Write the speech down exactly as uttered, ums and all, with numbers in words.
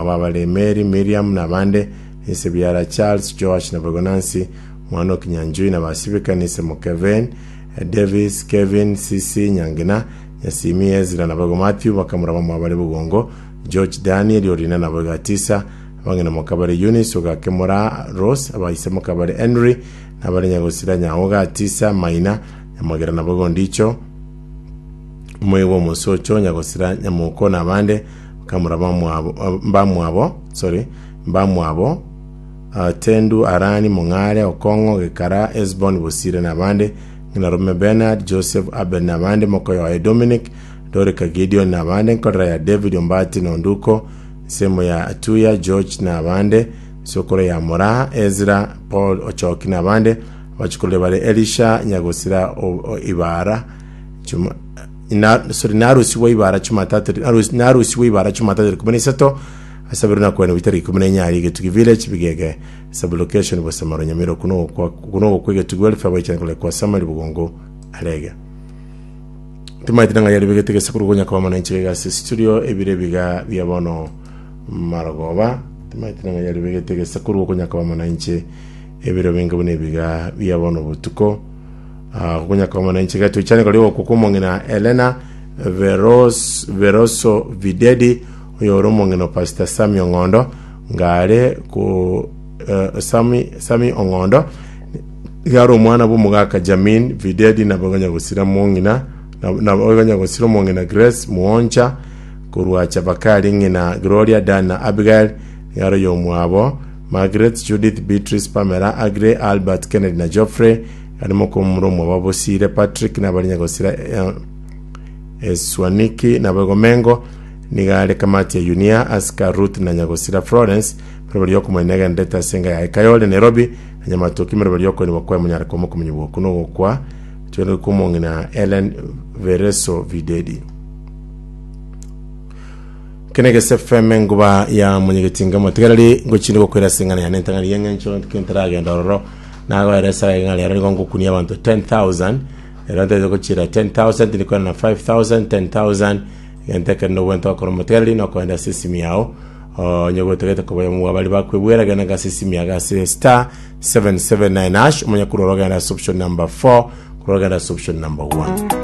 Ababare Mary, Miriam na abande, ise biara Charles, Joash na boigo Nancy, omwana o Kinyanjui na Basibika, nise Mokeven, Davis, Kevin, Sisi, Nyangina, Nyasimi, Ezra na boigo Matthew, bakamura bamwabo bare Bogongo, George, Daniel, Orina na boigo Atisa, abang'ina mokabare Eunice, Ogakemora, Rose, abaise mokabare Henry, na abare Nyagosira, Nyaoga, Atisa, Maina, Nyamagera na boigo Ndicho, Omoigwa omosocho, Nyagosira, Nyamoko na abande, bakamura bamwabo, mbamwabo, sorry, mbamwabo, uh, Tendu, Arani, Mong'are, Okong'o, Gekara, Esbon, Bosire na abande, ng'ina Rome Bernard, Joseph, Abel na abande, mokoyo oye Dominic, Dorika Gideon na abande, nkorera ya David Ombati na Onduko, nsemo ya Atuya, George na abande, nsokoro ya Moraa, Ezra, Paul Ochoki na abande, abachukurire bare Elisha, Nyagosira o, o, Ibara, Chuma, na, sorry, narusigwa ibara Jumatatu, narus- narusigwa ibara Jumatatu ikomi na isato, asabirwe na kwena bitari ikomi na inyari Getugi Village Bigege sublocation Bosamaro Nyamira kuno kwa kuno kwa Getugi Welfare baichana kole kwa Samari Bugongo Arege. Timaete nang'a yari begete gesekuru gonya koba mana inche gase studio ebire biga bia bono marogoba. Timaete nang'a yari begete gesekuru gonya koba mana inche ebiro binge buna ebiga bia bono botuko. Ah, gonya koba mana inche gatoichane kori gokumong'ina Elena Veros Veroso Videdi oyo ore omong'ina o Pastor Sami Ong'ondo ngare ku eh, Sami Sami Ong'ondo iga are omwana bw'omogaka Jamin Videdi nabo gonya gosira mong'ina nabo gonya gosira omong'ina Grace Muoncha korwa Chabakari ng'ina Gloria Dan na Abigail iga are oyomwabo Margaret Judith Beatrice Pamela Agre Albert Kennedy na Geoffrey ari mokomura omwabo Bosire Patrick nabari nyagosira eh, Eswaniki na Bogomengo niga are kamati ya Yunia Aska Ruth na Nyagosira Florence meroberi yokomwena egendete ase enga yaye Kayole Nairobi na Nyamatoki meroberi yokoenigwa kwaye monyare komo okomenyigwa okwo nogokwa twende komong'ina Ellen Vereso Videdi. Kenegese F M enguba ya monyegetinga motigareri ngochinde gokwera ase eng'ana yane entang'ani y'eng'encho ntaragenda ororo nagoeresa ng'a rero nigo ngokunia abanto ten thousand rero ntete gochira ten thousand ndikwena na five thousand ten thousand egento ekero nobwente gokora omotigareri nokoenda ase esimi yao onye gotegete koba mwa bari bakwebwera genda ase esimi yago ase star seven seven nine hash omonye kurora ogenda ase option number four kurora ogenda ase option number one.